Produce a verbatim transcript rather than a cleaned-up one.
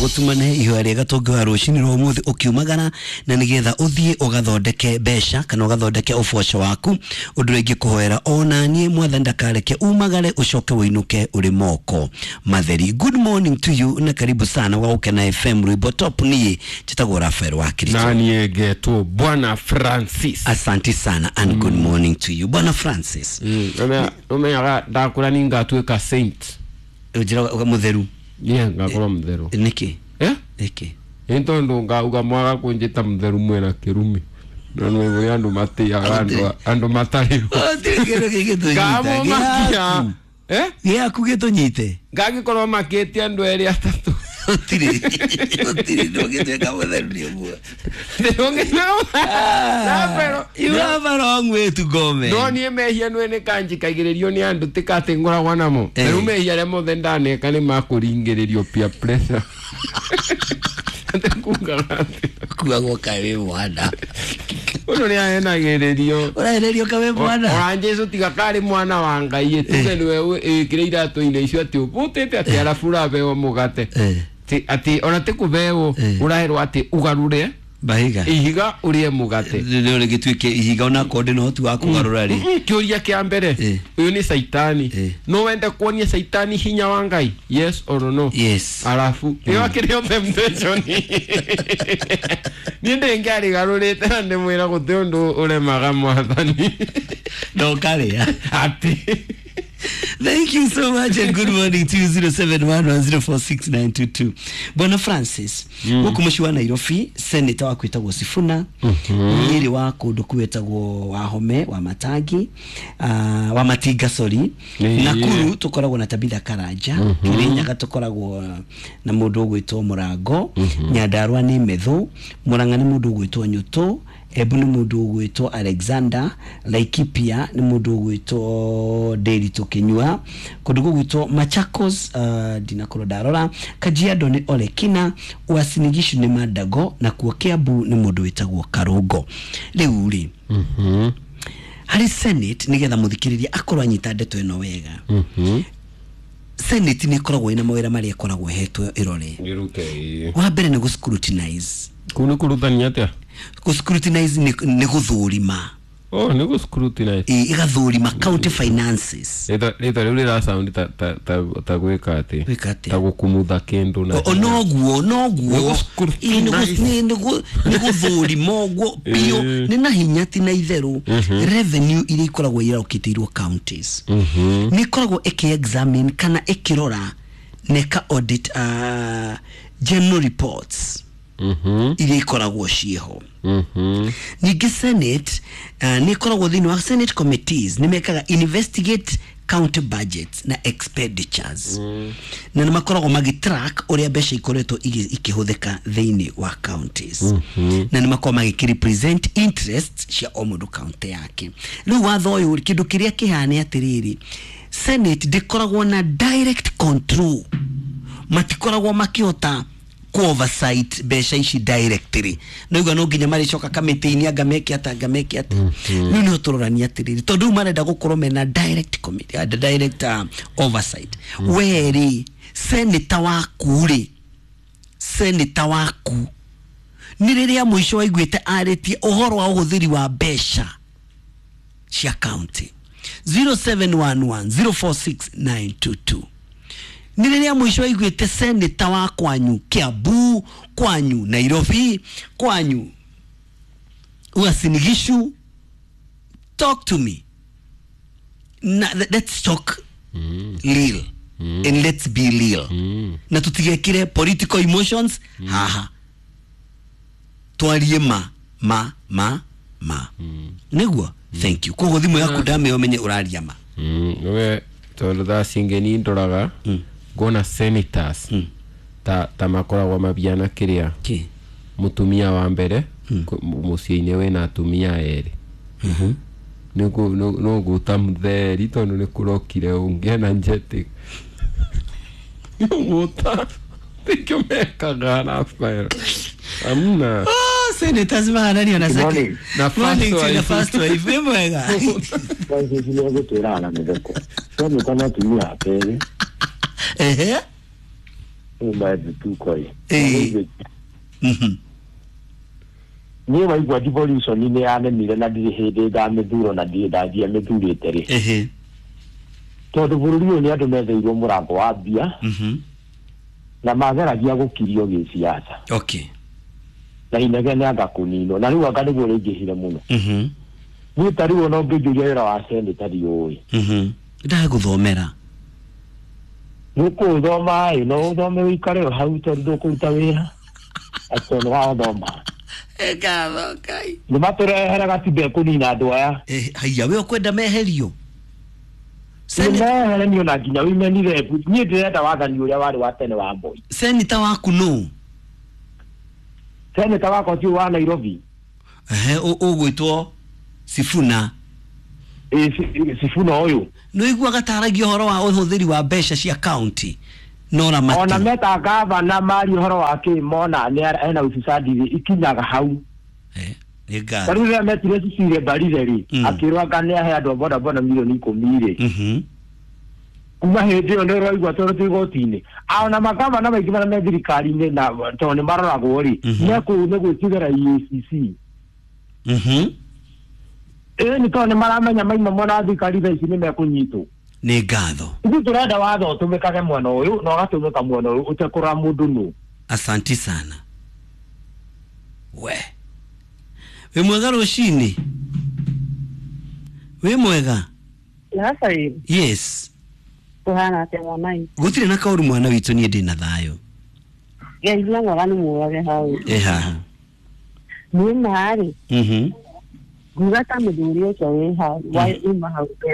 Gũtumane ihoya rĩega tũngĩhoya rũcinĩ rwa ũmũthĩ ũkiumagara na nĩgetha ũthiĩ ũgathondeke mbeca kana ũgathondeke ũboco waku. Ũndũ ũrĩa ingĩkũhoera ona niĩ mwathani ndakareke umagare ũcoke ũinũke ũrĩ moko matheri. Good morning to you na karibu sana wa Gũkena F M rwĩmbo top. Niĩ njĩtagwo Rafael wa Kristo na niĩ ngetwo Bwana Francis. Asante sana and mm. good morning to you Bwana Francis. Mm. Umenyaga ndakũra ni ngatuĩka saint. Ũnjĩraga mũtheru. Niĩ ngakorwo mũtheru. Nĩkĩ? Eh? Nĩkĩ? Nĩ tondũ ngauga mwaga kũnjĩta mũtheru mwĩna kĩrumi. No nĩ andũ matĩaga andũ andũ matarĩ. Gũtirĩ kĩndũ gĩgĩtũnyita. Eh? Gĩaku gĩtũnyite. Ngagĩkorwo makĩtie andũ erĩ atatũ. Gũtirĩ. Gũtirĩ ndũngĩtuĩka mũtheru nĩ ũguo. Ndũngĩtuĩka. You have a wrong way to go, man. No niĩ mehia nĩ nĩ kanjikagĩrĩrio nĩ andũ tikatĩ ngoragwo namo. Rĩu mehia arĩa mothe ndaneka nĩ makũringĩrĩrio peer pressure. Kugaga atĩ kuagwo kaĩ wĩ mwana. Ũyũ nĩ ahenagĩrĩrio. Ũrahenerio kaĩ wĩ mwana. Ona Jesu tiga karĩ mwana wa Ngai tuge nĩwe ĩkĩre iratũ-inĩ icio atĩ ũbũtĩte atĩ arabu ũrabeo mũgate. Atĩ ona ti kũbeo ũraherwo atĩ ũgarũre bahiga ihiga ũrĩe mũgate. Rĩu rĩgĩtuĩke ihiga ona korwo ndĩna ũhoti wa kũgarũra rĩ. Kĩũria kĩa mbere ũyũ nĩ Saitani. No wende kuonia Saitani hinya wa Ngai? Yes or no? Yes. Arabu ĩyo akĩrĩ o temptation. Niĩ ndĩngĩarigarũrĩte na ndĩmwĩra gũtirĩ ũndũ ũremaga mwathani. Ndokarĩa atĩ. Thank you so much and good morning to you. Zero seven one one zero four six nine two two. Bwana Francis, gũkũ mũciĩ wa Nairobi, senator waku wĩtagwo Sifuna, Nyeri wa kũndũ kwĩtagwo Wahome wa Matangi, uh, wa Matinga sorry. Nakuru tũkoragwo na Tabitha Karanja, Kirinyaga tũkoragwo na mũndũ ũgwĩtwo Mũrango, Nyandarua nĩ Methu, Murang'a nĩ mũndũ ũgwĩtwo Nyũtũ, Embu nĩ mũndũ ũgwĩtwo Alexander, Laikipia nĩ mũndũ ũgwĩtwo Nderitu Kinyua, kũndũ gũgwĩtwo Machakos, uh, ndinakorwo ndarora, Kajiado nĩ Olekina, Uasin Gishu nĩ Mandago, na kuo Kiambu nĩ mũndũ wĩtagwo Karũngo. Rĩu rĩ, harĩ Senate nĩgetha mũthikĩrĩria akorwo anyita ndeto ĩno wega. Senate nĩ ĩkoragwo ĩna mawĩra marĩa ĩkoragwo ĩhetwo ĩrore. Wa mbere nĩ gũ scrutinize. Kũu nĩ kũrutania atĩa? Gũ scrutinize nĩ gũthũrima. Oh, nĩ gũ scrutinize. Ĩ ĩgathũrima county finances. Rĩtwa rĩu rĩra sound ta ta ta ta gwĩka atĩ. Gwĩka atĩa? Ta gũkumutha kĩndũ na. O noguo noguo. Nĩ gũthũrima ũguo biũ nĩ na hinya ti na itherũ. Revenue iria ikoragwo irarokĩtĩirwo counties. Nĩ ikoragwo ĩkĩ examine kana ĩkĩrora na ĩka audit uh, general reports. Iria ikoragwo ciĩho. Ningĩ Senate uh, nĩ ikoragwo thĩinĩ wa Senate committees nĩ mekaga investigate county budgets na expenditures. Mm. Na nĩ makoragwo magĩtrack ũrĩa mbeca ikoretwo ikĩhũthĩka thĩinĩ wa counties. Mm -hmm. Na nĩ makoragwo magĩkĩrepresent interests cia o mũndũ county yake. Rĩu watho ũyũ kĩndũ kĩrĩa kĩhana atĩrĩrĩ, Senate ndĩkoragwo na direct control, matikoragwo makĩhota oversight mbeca ici directly. No igua no nginya marĩcoka kamĩtĩ-inĩ anga meke ata anga meke ata. Rĩu nĩho tũrorania atĩrĩrĩ, tondũ rĩu marenda gũkorwo mena direct committee, uh, direct uh, oversight. Mm. We rĩ, senator waku rĩ, senator waku nĩ rĩrĩa mũico waiguĩte arĩtie ũhoro wa ũhũthĩri wa mbeca cia county. Zero seven one one zero four six nine two two. Nĩ rĩrĩa mũico waiguĩte senator wa kwanyu Kiambu, kwanyu Nairobi, kwanyu Uasin Gishu, talk to me. Na, let's talk mm. real. Mm. And let's be real. Mm. Na tutigekire political emotions. Mm. Haha. Twarie ma ma ma ma. Mm. Nĩguo? Mm. Thank you. Koguo thimũ yaku ndamĩo menye ũraria ma. Mm. We tondũ thaa cingĩ ni ndoraga mm. ngona senators mm. ta ta makoragwo mabiana kĩrĩa mũtumia wa mbere mm. mũciĩ-inĩ wĩna atumia erĩ. Mhm. Nĩguo no guta mũtheri tondũ nĩ kũrokire ũngĩ na njeti. Guta tikio mekaga Rafael. Amna. Oh, senators mahananio na second. Na first wife. Na first wife. Wĩ mwega. Francis nĩ egũtwĩra na mĩtheko. Senator na atumia ake erĩ. Ehe. Uma thituko ĩ. Ĩĩ. Mhm. Niĩ waigua devolution nĩ yanemire na ndirĩ hĩndĩ ndamĩthuro na ndirĩ ndanjia mĩthurĩte rĩ. Ehe. Tondũ bũrũri ũyũ nĩ andũ metheirwo mũrango wa mbia Mhm. na mageragia gũkirio gĩciaca Okay. na inegene anga kũninwo na rĩu anga nĩguo rĩingĩhire mũno. Mhm. Niĩ ta rĩu ona ũngĩnjũria wĩra wa seneta ndiũĩ. Mhm. Ndagũthomera. Nĩũkũũthoma ĩ no ũthome ũikare o hau tondũ ndũkũruta wĩra atĩ nĩ wathoma. Ngatho Ngai. Nĩ matũrehere gatiba ĩkũnina andũ aya. Eh, haiya we ũkwenda meherio. Nĩ Seni- mehere niĩ ona nginya women rep niĩ ndĩrenda wathani ũrĩa warĩ wa tene wa Moi. Seneta waku nũ? Seneta wakwa ti wa Nairobi. Ehe, ũ- ũgwĩtwo Sifuna. Ĩ, Si- Sifuna ũyũ. Nĩ ũiguaga taragia ũhoro wa ũhũthĩri wa mbeca cia county na Ona ũramati. meta gavana maria ũhoro wa kĩ mona nĩ ara- ena ufisadi rĩ ikinyaga hau. Eh, nĩ Ta ngatho. rĩu rĩrĩa metire Cecilia Mbarire rĩ Mm. akĩrwo anga nĩ ahe andũ a bodaboda milioni ikũmi rĩ. Mhm. Kuma hĩndĩ ĩyo nĩ ũraigua tondũ twĩ igoti-inĩ. Ona magavana maingĩ marĩa me thirikari-inĩ na tondũ nĩ maroragwo rĩ Mhm. mekũu nĩ gwĩtigĩra E A C C. Mhm. Ĩĩ nĩ tondũ nĩ maramenya maima mona thirikari thaa ici nĩ mekũnyitwo. Nĩ ngatho. Ithuĩ tũrenda watho ũtũmĩkage mwena ũyũ na ũgatũmĩka mwena ũyũ ũtekũrora mũndũ nũ. Asanti sana. We. Wĩ mwega rũcinĩ? Wĩ mwega? Sasa Yes. kuhana atia mwana witũ? Gũtirĩ na kaũru mwana witũ niĩ ndĩ na thayũ. Ngai na mwega nĩ mũrage hau. Ĩ haha. Niĩ marĩ Mhm. nguga ta mũthuri ũcio wĩ hau wa uma hau mbere.